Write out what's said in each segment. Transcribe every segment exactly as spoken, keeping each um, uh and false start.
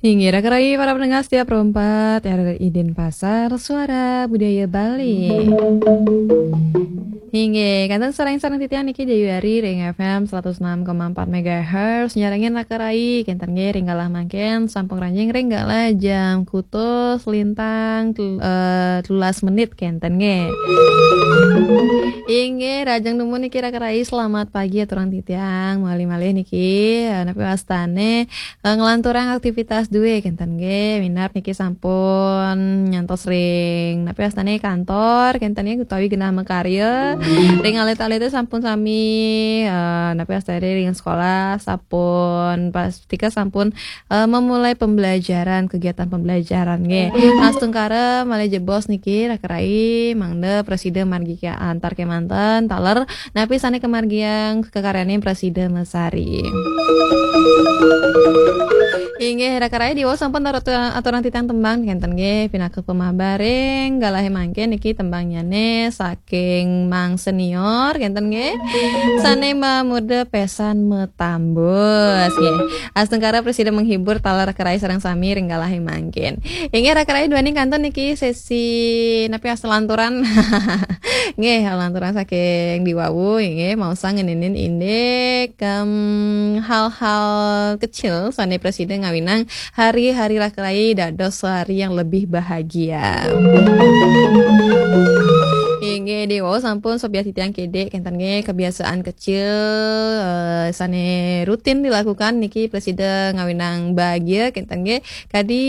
Inggih, raka rai para pendengar setia Pro empat R R I Denpasar, Suara Budaya Bali. Inggih, kenten sareng-sareng titiang niki Dayu Ari ring F M seratus enam koma empat megahertz, nyarengin raka rai, kenten nggih ring galah mangkin sampun ranjing ring galah jam kutus lintang tel-, eh, telulas menit kenten nggih. Inggih, rahajeng dumun niki raka rai, selamat pagi aturang titiang, malih-malih niki, eh, napi wastane eh, nglanturang aktivitas duwe kenten nggih, minab niki sampun nyantos ring napi wastane kantor kenten nggih utawi genah makarya ring alit-alite sampun sami, eh, napi wastane ring sekolah sampun pastika sampun, eh, memulai pembelajaran, kegiatan pembelajaran nggih. Astungkara malih jebos niki raka rai mangda prasida margi antar kemanten taler napi sane kamargiang kakaryaning prasida masari. Inggih, raka rai diwau sampun atur-, aturang titiang tembang kenten nggih pinaka pamabar ring galahe mangkin niki tembangnyane saking Mang Senior kenten nggih. Sane mamurda Pesan Metambus nggih. Astungkara prasida menghibur taler raka rai sareng sami ring galahe mangkin. Inggih raka rai duaning kantun niki sesi napi wasta lanturan. Nggih, lanturan saking diwawu, nggih, maosang ngeninin indik, em, hal-hal kecil sane prasida ngawinang hari-hari raka rai dados hari yang lebih bahagia. Inggih, diwawu sampun sobiah titiang kidik, kenten nggih, kebiasaan kecil, eh, sane rutin dilakukan niki prasida ngawinang bahagia, kenten nggih. Kadi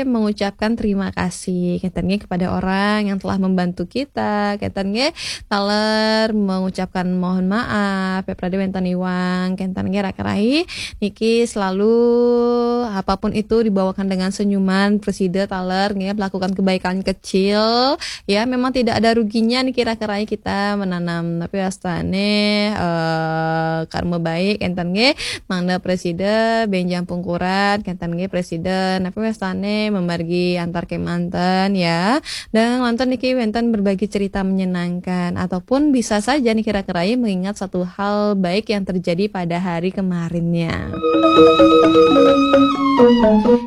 mengucapkan terima kasih kenten nggih kepada orang yang telah membantu kita, kenten nggih taler mengucapkan mohon maaf, ya prade wenten iwang, kenten nggih raka rai niki selalu apapun itu dibawakan dengan senyuman, prasida taler nggih melakukan kebaikan kecil, ya memang tidak ada ruginya niki raka rai kita menanam, napi wastane, eh, karma baik kenten nggih. Mangda prasida benjang pungkuran kenten nggih prasida napi wastane mamargi antar kemanten ya. Dan nonton niki wenten berbagi cerita menyenangkan ataupun bisa saja niki raka rai mengingat satu hal baik yang terjadi pada hari kemarinnya.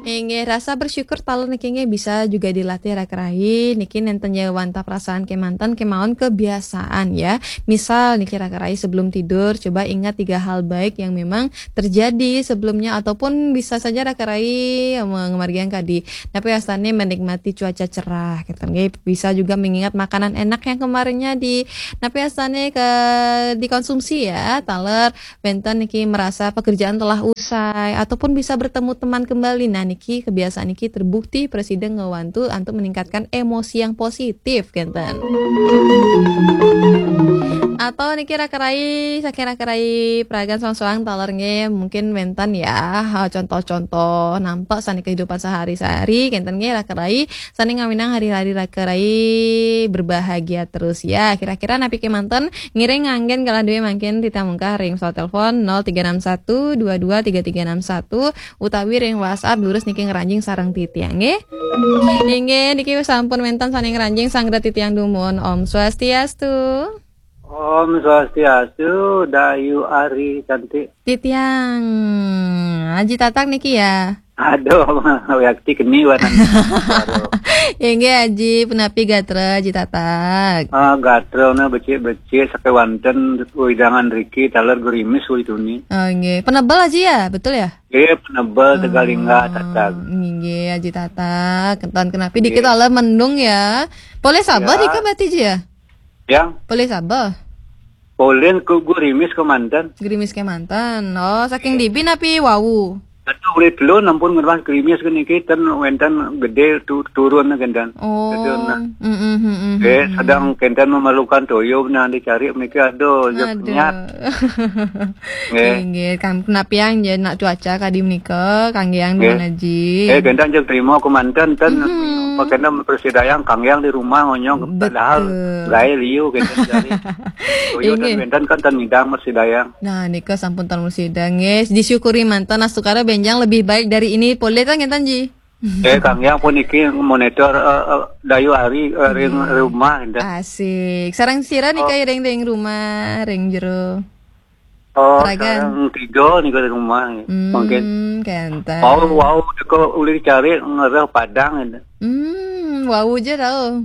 Inggih, rasa bersyukur taler niki nggih bisa juga dilatih raka rai. Niki nenten ya wantah perasaan kemanten kemaon kebiasaan ya. Misal niki raka rai sebelum tidur coba ingat tiga hal baik yang memang terjadi sebelumnya ataupun bisa saja raka rai, eh, mengemargiang kadi napi wastane menikmati cuaca cerah kenten nggih. Bisa juga mengingat makanan enak yang kemarinnya di napi wastane ke dikonsumsi ya. Taler wenten niki merasa pekerjaan telah usai ataupun bisa bertemu teman kembali. Nah niki kebiasaan niki terbukti prasida ngewantu untuk meningkatkan emosi yang positif kenten. Atau niki raka rai, saking raka rai pragan soang-soang taler nggih mungkin wenten ya, ha, contoh-contoh nampak sane kehidupan sehari-hari kenten nggih raka rai sane ngawinang hari-hari raka rai berbahagia terus ya. Kira-kira napi kemanten ngiring nganggen galah duwe mangkin titiang mungkah ring pesawat telepon nol tiga enam satu dua dua tiga tiga enam satu utawi ring WhatsApp lurus niki ngranjing sareng titiang nggih. Inggih, niki sampun wenten sane ngranjing sanggra titiang dumun. Om Swastiastu. Om Swastiastu, Dayu Ari cantik. Titiang, Aji Tatak niki ya. Aduh, yakti keni wanan. Aduh. Inggih Aji, punapi gatra Aji Tatak? Ah, gatra na becik-becik sakewanten wewidangan riki taler gerimis uli tuni. Oh, inggih. Penebel Aji ya, betul ya? Eh, penebel Tegalingga Tatak. Inggih Aji Tatak. Kenten kenapi dikit taler mendung ya. Polih sabeh dika bati Ji ya? Yang? Polih sabeh. Polih ku gerimis kemanten. Gerimis kemanten. Oh, saking dibi napi wau? Atu ulih telun ampun ngerbas gerimis ke niki ten wenten gede tu, turun kenten. Oh. Kenten nah. Mm, mm, mm, mm, eh, mm, sedang kenten memerlukan toyo nah dicari niki aduh, je penyat. Nggih. Nggih, kan kenapiang je nak cuaca kadi menika, kanggiang dumun Aji. Eh, kenten je terima kemanten ten apa kenten persidayang kanggiang di rumah ngonyong padahal gae liu kenten cari. Toyo ten wenten kan ten midang persidayang. Nah, nika sampun tan musida nggih. Disyukuri manten astukara benjang lebih baik dari ini polih ta ngenten Ji. Eh, kanggiang puniki monitor, eh, eh, Dayu Ari, eh, ring rumah enten. Asik. Sareng sira nika ring, ring rumah, ring jero? Oh, Ragan. Sareng tiga nika di rumah. Hmm, mungkin. Kenten. Wau, wau, teka ulih dicari ngereh Padang. Hmm, wau je tau.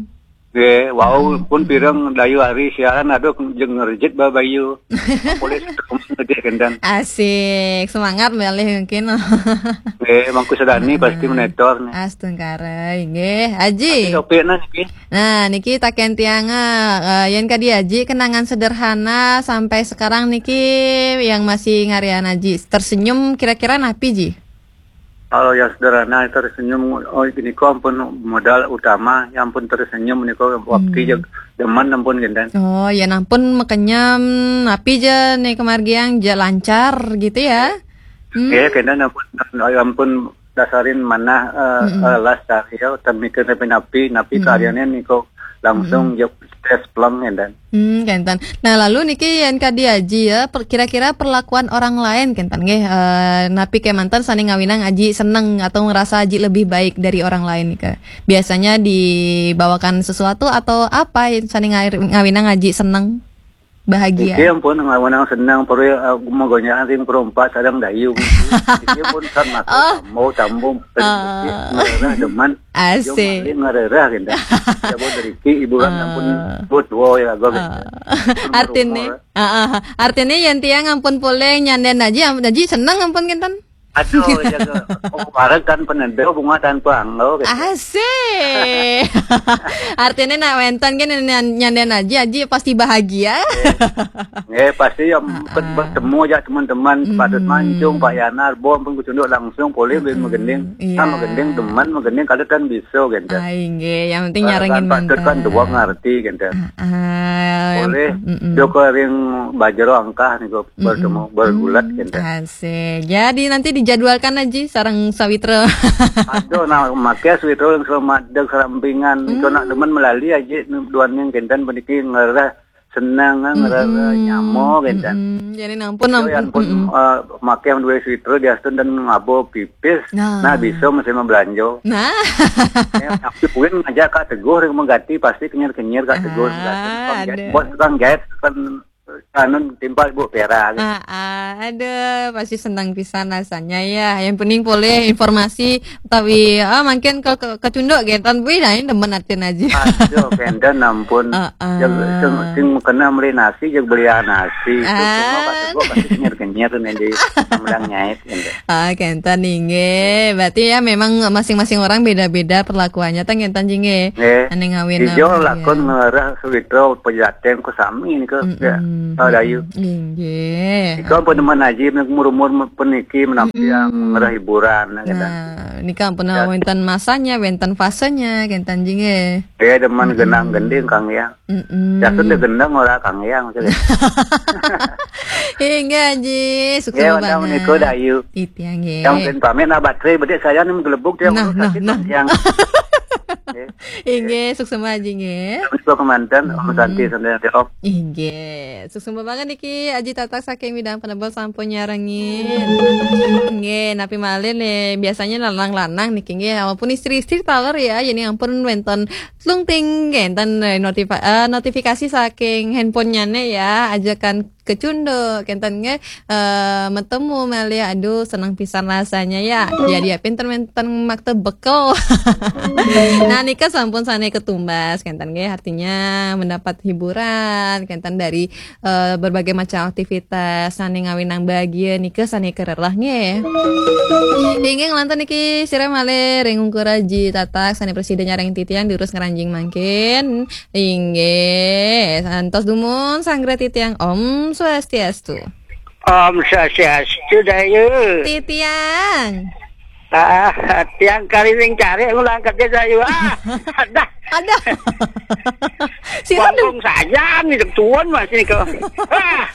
Nggih, wau pun pireng dayu hari siaran, aduh, jeung ngerejit ba bayu. Polis gedé kenten. Asik, semangat malih mungkin. Nggih, Mangku Sadani pasti menetor nih. Astungkara, inggih. Aji. Tapi topikna niki. Nah, niki taken tiang, eh, yen kadi Aji kenangan sederhana sampai sekarang niki yang masih ngarian Aji tersenyum kira-kira napi, Ji? Kalau yang sederhana tersenyum, oh, ini kok ampun modal utama, yang pun tersenyum ini kok waktu je demen ampun kenten. Oh, ya ampun makenyem, napi je nih kemargiang je lancar gitu ya? Hmm. Nggih, kenten ampun, ampun dasarin manah, eh, eh, las cari ya, utam mikir napi-napi, napi karyanya nih kok langsung je stres pleng kenten. Hmm, kenten. Nah, lalu niki yen kadi Aji ya, per-, kira-kira perlakuan orang lain kenten nggih, eh, napi kemanten sane ngawinang Aji seneng atau ngerasa Aji lebih baik dari orang lain nika? Biasanya dibawakan sesuatu atau apa yang sane ngawir-, ngawinang Aji seneng? Bahagia. Iki ampun ngawinang seneng, perlu, eh, magonyakan sing perompak sadang dayu. Iki pun kan masuk tambung, tambung, ngerereh demen. Asik. Yo, maling ngerereh kenten. Ya, buat deriki hiburan ampun buat dua ya, gua kenten. Artine, heeh, artine yen tiang ampun poleh nyanden Aji, am-, Aji seneng ampun kenten. Aduh, jaga. Oh, bareng tanpa nendo, bunga tanpa anggo, gitu. Asik. Artine nak wenten kan nyan-, nyanden Aji, Aji pasti bahagia. Nggih, pasti ya, bertemu aja teman-teman, Pak Dut Mancung, Pak Yanar, Bom pun kucunduk langsung, poleh ben magending. Iya. Kan magending demen, magending kada tan bisa, gitu. Ah, inggih, yang penting nyarengin kan Pak Dut kan dua ngerti, gitu. Ah, poleh, dok ring bajero angkah nih, bertemu, bergulat, gitu. Asik. Jadi nanti dijadwalkan aja sareng sawitra. Aduh, nah, make sawitra yang selamat dek serampingan. Itu nak demen melali aja, duan yang kenten peniki ngerah senang, ngerasa nyamo, kenten. Jadi nampun, nampun, eh, make yang dua switro diastun dan ngabo pipis. Nah, bisa mesti membelanja. Nah. Ya, tapi kuin ngajak Kak Teguh yang mengganti pasti kenyir-kenyir Kak Teguh. Ah, ada. Bos tukang jahit kan anu timpal Bu Pera, gitu. Ah, ah, ada pasti senang pisan rasanya ya. Yang penting boleh informasi tapi, ah, mungkin ke, ke, kecunduk gitu. Tapi nah, ini demen atin aja. Aduh, kenten ampun. Heeh. Yang sing, sing kena beli nasi, yang beli nasi. Itu semua kata gua pasti kenyir-kenyir nih di Sambilang nyait, gitu. Ah, kenten inggih. Berarti ya memang masing-masing orang beda-beda perlakuannya, tang kenten jingge. Nggih. Ane ngawin. Ijo lakon ngerah sawitra pejateng ku sami nika. Ya, dayu. Inggih. Ika pun demen aji, umur-umur peniki menampiang ngerah hiburan, gitu. Nah, nika pun wenten masanya, wenten fasenya, kenten jingge. Ya, demen genang gending, Kang, ya. Jasun dia gendang ora, Kang, ya, maksudnya. Inggih, Aji, sukses banget. Nggih, menika dayu. Titiang, nggih. Yang ben pamit, nah, baterai bedik saya nih menggelebuk dia. Nah, nah, nah. Yang. Inggih, sukses Aji, nggih. Menika kemanten, Om Santi, Santi, Om. Inggih, sukses banget niki Aji Tatak saking Midang Penebel sampun nyarengin. Nggih, napi malih nih, biasanya lanang-lanang niki nggih, walaupun istri-istri taler ya, jadi ampun wenten tlung ting, kenten, eh, notifa-, eh, notifikasi saking handphonenya nih ya, ajakan kecunduk, kenten nggih, eh, metemu malih, aduh, senang pisan rasanya ya. Jadi ya, pinter menten makta bekel. Nah, nika sampun sane ketumbas, kenten nggih, artinya mendapat hiburan, kenten dari, eh, berbagai macam aktivitas sane ngawinang bahagia nika sane kererah nggih. Inggih nglantur niki sira malih ring ungkur Aji Tatak sane presiden nyareng titiang durus ngranjing mangkin. Inggih, santos dumun sanggra titiang Om Swastiastu. Om Swastiastu, Dayu. Titiang. Ah, tiang kari ring cari ngulang kerja, Dayu. Ah, ada. Ada. Sira Wangkung saja nih tuan masih kok. Ah.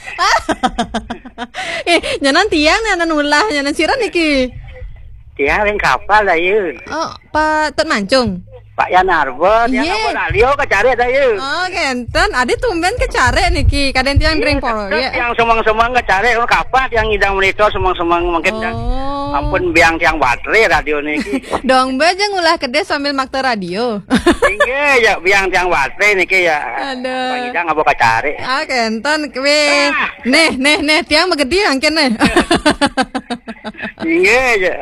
Eh, nyanan tiang nyanan ulah nyanan sira niki. Tiang ring kapal, Dayu. Oh, Pak Tut Mancung. Pak Yan Arba, tiang Iya. Arba radio kacari dah ya. Oh, kenten. Adi tumben kacari niki. Kadén tiang Iya, ring poro, tetep ya. Tiang semang-semang kacari, oh, kapan tiang ngidang monitor semang-semang mungkin tiang Oh. Ampun biang tiang baterai radio niki. Dong bé jang ulah kedis sambil makta radio. Inggih, ya biang tiang baterai niki ya. Aduh. Pangidang apa kacari. Ah, kenten, wéh. Ah. Néh, néh, néh, tiang magedi mangkin néh. Inggih, ya.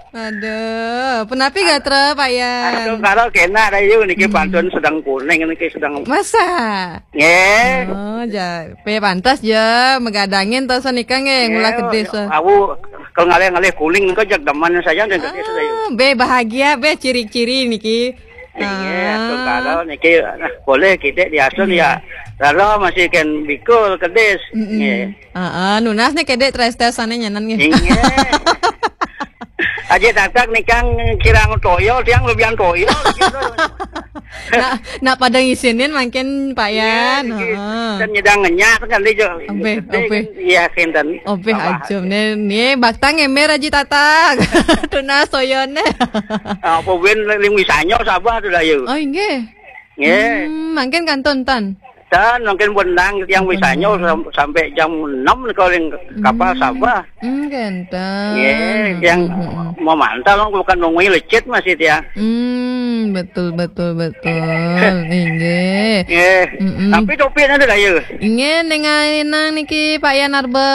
Aduh, punapi gatra, Pak Yan? Aduh, kalau kena ada yuk, niki Hmm. pantun sedang kuning, niki sedang Masa? Nggih. Oh, ja, pé pantas ja magadangin to sanika nggih, ngulah Nggih, kedis. Awu, kalau ngalih-ngalih kuning nika jag demen saya dan kedis saya. Ah, bé bahagia, bé ciri-ciri niki. Inggih, Ah. atur karo niki, nah, boleh kidik diasun Iya. ya. Lalu masih kan bikul kedis. Mm-mm. Nggih. Heeh, nunas nih kedék tres-tres sané nyanan nggih. Inggih. Aja tatak nikang kirang toyo, tiang lebihan toyo. Nak, nak pada ngisinin mangkin Pak Iya, Yan. Niki. Heeh. Dan nyedang ngenyah kan dia jo. Obéh, Gedé obéh. Kan, iya, kinten. Obéh Tambah. Aja né, né baktang émér aja tatak. Tunas toyoné. Apa win ling wisanyo Sabah tu dah, yo. Oh, inggih. Nggih. Hmm, mangkin kantun tan. Dan mungkin bendang tiang Betul. Wisanyo sam- sampai jam enam kalau ring kapal Hmm. Sabah. Hmm, kenten. Nggih, tiang Hmm, hmm, hmm. Memantau kan bukan nungguin lecet masih tiang. Hmm, betul, betul, betul. Inggih. Nggih. Mm-mm. Tapi topiknya ada dah ya. Inggih, dengan niki Pak Yan Arba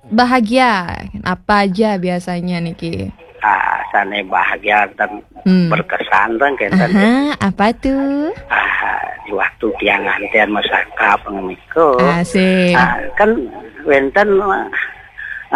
bahagia. Apa aja biasanya niki? Ah, sané bahagia dan Hmm. berkesan kan kenten. Aha, apa tuh? Ah, di waktu tiang nganten masakap ngeniko. Asik. Ah, kan wénten ah,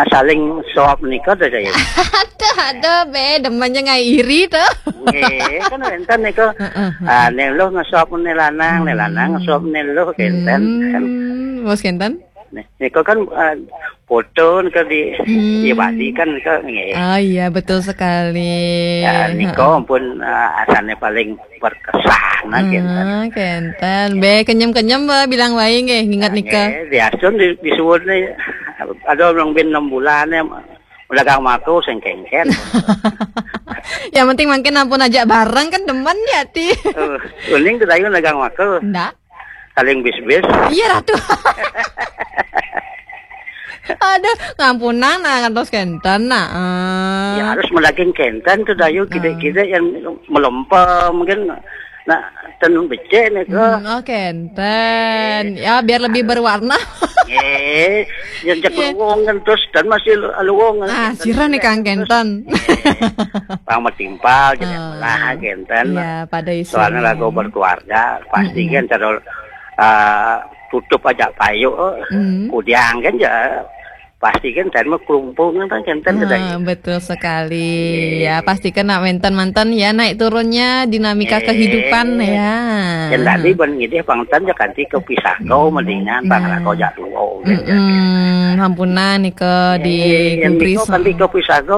saling suap nika to saya. Aduh, aduh, bé, demennya ngai iri to. Nggih, kan wénten nika. Heeh, heeh. Ah, né luh ngasuap né lanang, né lanang ngasuap né luh kenten. Hmm, bos kenten? Nih, nika kan ah, foto nika di Hmm. Iya Bali kan nika nggih. Oh iya, betul sekali. Ya, nika Heeh. Pun ah, asané paling berkesan Ah, kenten. Kenten. Bé kenyem-kenyem bé bilang waé nggih nginget nika. Nggih, diasun di disuwun né ada orang bin enam bulan ya dagang mako sing kengken. Yang penting mangkin ampun ajak bareng kan demen ya ti. Eh, uning tu dagang mako. Ndak. Saling bis-bis. Iya ratu. Aduh, ngampunang nah ngantos kenten nah. Eh. Ya harus melaging kenten tu dayu kidek-kidek yang melempem mungkin nak ten becek ni ke. Hmm, oh kenten. Ya biar lebih berwarna. Eh, yang cek luwung kan terus dan masih luwung. Ah, sira nih kang kenten. Pang metimpal jadi Ah. Lah kenten. Ya, pada isu. Soalnya lagu berkeluarga pasti kan terus ah, tutup aja payu. Hmm. Kudiang kan ya pasti kan dan mah kerumpung kan kenten Ah, betul sekali. Iya. Ya, pasti kena wénten manten ya naik turunnya dinamika Eh. Kehidupan ya. Yang tadi ban ngidih pangten ya kanti ke pisako mendingan pang Nah. Lako jak tuwo. Mm-mm. Hampunan nika di Eh, yang kubris. Niko kanti ke pisako